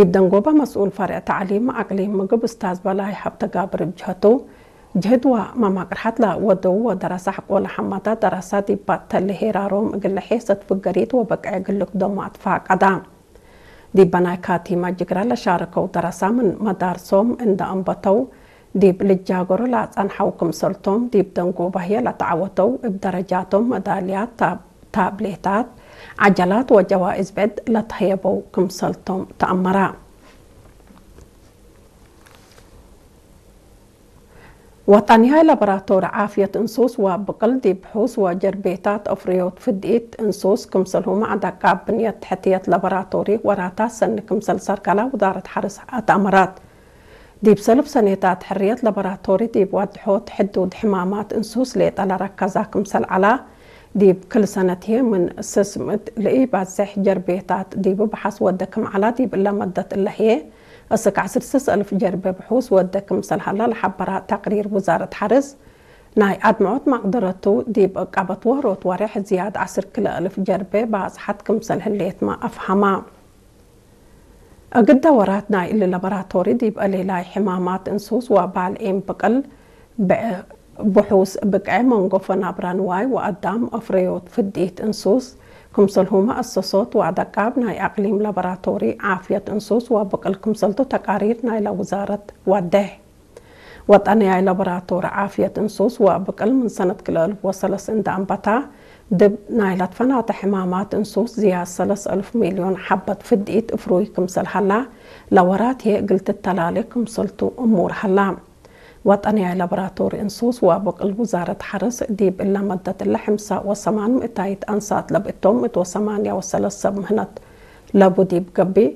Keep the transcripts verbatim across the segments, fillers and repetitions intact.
ዲብ ደንጎበ መስኡል ፈርዕ ተዕሊም አቅሊም ምግብ እስታዝ በላይ ሀብተጋብር እብ ጀህቱ፣ ጅህድ ወመማቅርሐት ለወደዉ ወደረሰ ሐቆለ ሐመዳ ደረሳ ዲብ ባተሌ ሄራሮም እግለ ሔሰት ፍገሪት ወበቅዕ እግል ልክደሞ አትፋቀዳ። ዲብ በናይ ካቲመ ጅግረ ለሻረከው ደረሳ ምን መዳርሶም እንደ አንበተው፣ ዲብ ልጃገሮ ለአጸንሐው ክምሰልቶም፣ ዲብ ደንጎበ ህዬ ለተዐወተው እብ ደረጃቶም መዳልያት፣ ታብ-፣ ታብሌታት፣ ዐጀላት ወጀዋእዝ ብዕድ ለተሀየበው ክምሰልቶም ተአመረ። ወጠንያይ ላቦራቶሪ ዓፍየት እንሱስ ወብቅል ዲብ ብሑስ ወጀርቤታት አፍርዮት ፍድኢት እንሱስ፣ ክምሰልሁመ ዐድ አቃብ ብንየት ተሕትየት ላቦራቶሪ ወራታት ሰኒ ክምሰል ሰርገላ ውዛረት ሐርስ አትአመረት። ዲብ ሰልፍ ሰኔታት ሕርየት ላቦራቶሪ ዲብ ወድሖት ሕዱድ ሕማማት እንሱስ ሌጠ ለረከዛ ክምሰል ዐላ፣ ዲብ ክል ሰነት ህዬ ምን ስስ ምእት ለኢባዝሕ ጀርቤታት ዲብ በሐስ ወደ ክም ዐላ፣ ዲብ እለ መደት እለ ህዬ እስክ ዐስር ስስ እልፍ ጀርቤ ብሑስ ወደ ክምሰል ሀላ ለሐበራ ተቅሪር ውዛረት ሐርስ፣ ናይ አድምዖት መቅደረቱ ዲብ እቀበት ዎሮት ወሬሕ ዝያድ ዐስር ክልኤ እልፍ ጀርቤ ባጽሐት ክምሰል ህሌትመ አፍሀማ። እግደ ወራት ናይ እሊ ላቦራቶሪ ዲብ አሌላይ ሕማማት እንሱስ ወባልዒም ብቅል፣ ብዕ-፣ ብሑስ ብቅዕ መንጎፈ ናብራ ንዋይ ወአዳም አፍረዮት ፍድኢት እንሱስ፣ ክምሰልሁመ አሰሶት ወአደቃብ ናይ አቅሊም ላቦራቶሪ ዓፍየት እንሱስ ወብቅል ክምሰልቱ ተቃሪር ናይለ ውዛረት ወዴሕ። ወጠንያይ ላቦራቶሪ ዓፍየት እንሱስ ወብቅል ምን ሰነት ክልኤ እልፍ ወሰለስ እንደ አንበታ፣ ድብ ናይ ለትፈናተ ሕማማት እንሱስ ዝያድ ሰለስ እልፍ ሚልዮን ሐበት ፍድኢት እፍሩይ ክምሰል ሀላ፣ ለወራት ህዬ እግል ትተላሌ ክምሰልቱ እሙር ሀላ። ወጠንያይ ላቦራቶሪ እንሱስ ወብቅል ውዛረት ሐርስ፣ ዲብ እለ መደት እለ ሕምሳ ወሰማን ምእታይት አንሳት ለብእቶም፣ ምእት ወሰማንያ ወሰለስ ሰብ ምህነት ለቡ ዲብ ገብእ፣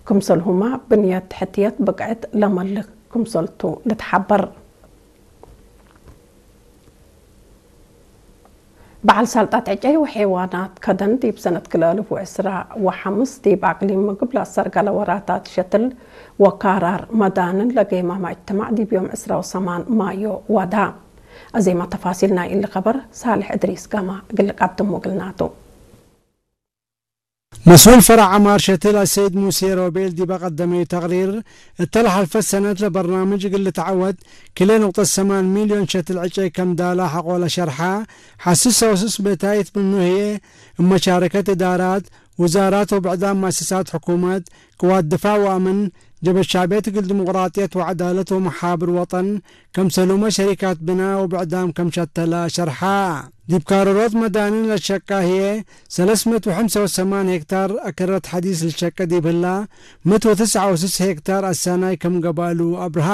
ክምሰልሁመ ብንየት ተሕትየት ብቅዕት ለመልክ ክምሰልቱ ልትሐበር። በዐል ሰልጠት ዕጨይ ወሔዋናት ከደን ዲብ ሰነት ክልኤ እልፍ ወዕስራ ወሐምስ ዲብ አቅሊም ምግብ ለአሰርገለ ወራታት ሸትል ወካራር መዳንን ለጌማመ እጅትማዕ ዲብ ዮም ዕስራ ወሰማን ማዮ ወዳ። አዜመ ተፋሲል ናይ እሊ ከበር ሳልሕ እድሪስ ጋማ እግል ቀድሙ እግልናቱ። መስኡል ፈረዕ ዐማር ሸትል አሰይድ ሙሴ ሮቤል ዲበ ቀደመዩ ተቅሪር፣ እተ ለሐልፈት ሰነት ለበርናምጅ እግል ልትዐወት ክልኤ ንቁጠት ሰማን ሚልዮን ሸትል ዕጨይ ከም ዳላ ሐቆለ ሸርሐ። ሐስስ ሰውስስ ቤታይት ምኑ ህዬ እብ መሻረከት እዳራት፣ ውዛራት ወብዕዳም መአሰሳት ሕኩመት፣ ቅዋት ድፋዕ ወአምን፣ ጀበህት ሸዕብየት እግል ዲሞቅራጥየት ወዐዳለት ወመሓብር ወጠን፣ ከምሰሉመ ሸሪካት ብናእ ወብዕዳም ከም ሸተለ ሸርሐ። ዲብ ካርሮት መዳንን ለሸቀ ህዬ፣ ሰለስ ምእት ወሐምሳ ወሰማን ሄክታር አከረት ሐዲስ ልሸቀ ዲብ ህላ፣ ምእት ወትስዓ ወስስ ሄክታር አሳናይ ከም ገብአሉ አብርሃ።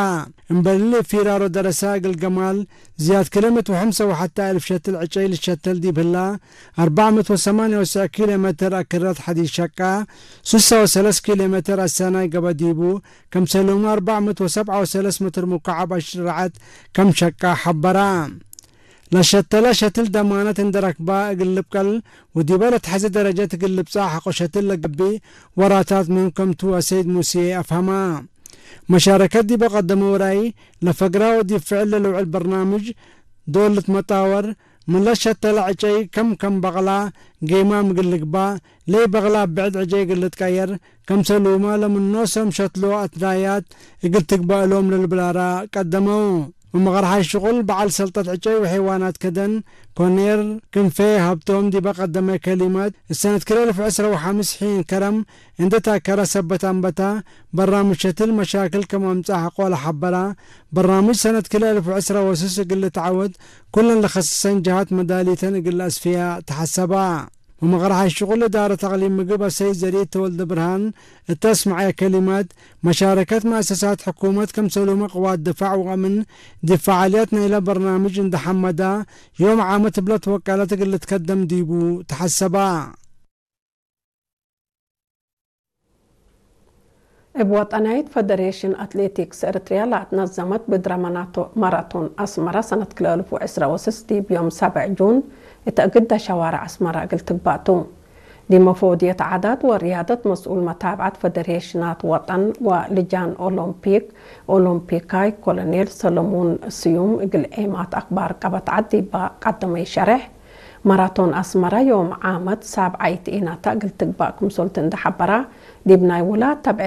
እምበል እሊ፣ ፊራሮ ደረሳ እግል ገማል ዝያድ ክልኤ ምእት ወሐምሳ ወሐተ እልፍ ሸትል ዕጨይ ልሸተል ዲብ ህላ፣ አርበዕ ምእት ወሰማንያ ወትስዕ ኪሎ ሜትር አከረት ሐዲስ ሸቀ፣ ስሳ ወሰለስ ኪሎ ሜትር አሳናይ ገበ ዲቡ፣ ከምሰሉመ አርበዕ ምእት ወሰብዓ ወሰለስ ሜትር ሙካዓብ አሽረዐት ከም ሸቀ ሐበረ። ለሸተለ ሸትል ደማነት እንዴ ረክበ እግል ልብቀል ወዲበ ለትሐዜ ደረጀት እግል ልብጸሕ ሐቆ ሸትል ለገብእ ወራታት ምህም ከምቱ አሰይድ ሙሴ አፍሀመ። መሻረከት ዲበ ቀደመው ራይ ለፈግራ ወዲብ ፍዕል ለልውዕል በርናምጅ ዶል ልትመጣወር፣ ምን ለሸተለ ዕጨይ ከም ከም በቅላ ጌማም እግል ልግባእ፣ ለኢበቅላ እብ ብዕድ ዕጨይ እግል ልትቀየር፣ ከምሰሉመ ለምን ኖሶም ሸትሎ አትዳያት እግል ትግባእ እሎም ለልብል አራእ ቀደመው። ወመቅረሓይ ሽቁል በዐል ሰልጠት ዕጨይ ወሔዋናት ከደን ኮኔር ክንፌ ሀብቶም ዲበ ቀደመ ከሊመት፣ እሰነት ክልኤ እልፍ ዕስራ ወሐምስ ሒን ከረም እንዴ ታከረ ሰበት አንበታ፣ በራምጅ ሸትል መሻክል ከም አምጽአ ሐቆለ ሐበራ። በራምጅ ሰነት ክልኤ እልፍ ዕስራ ወስስ እግል ልትዐወት፣ ኩለን ለከስሰን ጀሃት መዳሊተን እግል ለአስፍያ ተሐሰባ። ወመቅረሓይ ሽቁል እዳረት አቅሊም ምግብ አሰይድ ዘርኢት ተወልደ ብርሃን እተ አስመዐየ ከሊመት፣ መሻረከት መአሰሳት ሕኩመት ከምሰሉመ ቅዋት ድፋዕ ወአምን ዲብ ፈዓልያት ናይለ በርናምጅ እንዴ ሐመዳ፣ ዮም ዓመት እብ ለትወቀለት እግል ልትከደም ዲቡ ተሐሰባ። እብ ወጠናይት ፈደሬሽን አትሌቲክስ ኤረትርያ ለአትነዘመት ብድረ መናቶ-፣ ማራቶን አስመረ ሰነት ክልኤ እልፍ ወዕስራ ወስስ ዲብ ዮም ሰብዕ ጁን እተ እግደ ሸዋርዕ አስመረ እግል ትግባእ ቱ። ዲብ መፈወድየት ዓዳት ወርያደት መስኡል መታብዐት ፈደሬሽናት ወጠን ወልጃን ኦሎምፒክ ኦሎምፒካይ ኮሎኔል ሰለሙን ስዩም እግል ዔማት አክባር ቀበት ዐድ ዲበ ቀደመዩ ሸሬሕ፣ ማራቶን አስመረ ዮም ዓመት ሳብዓይት ኢናታ እግል ትግባእ ክምሰልቱ እንዴ ሐበራ፣ ዲብ ናይ ውላድ ተብዕ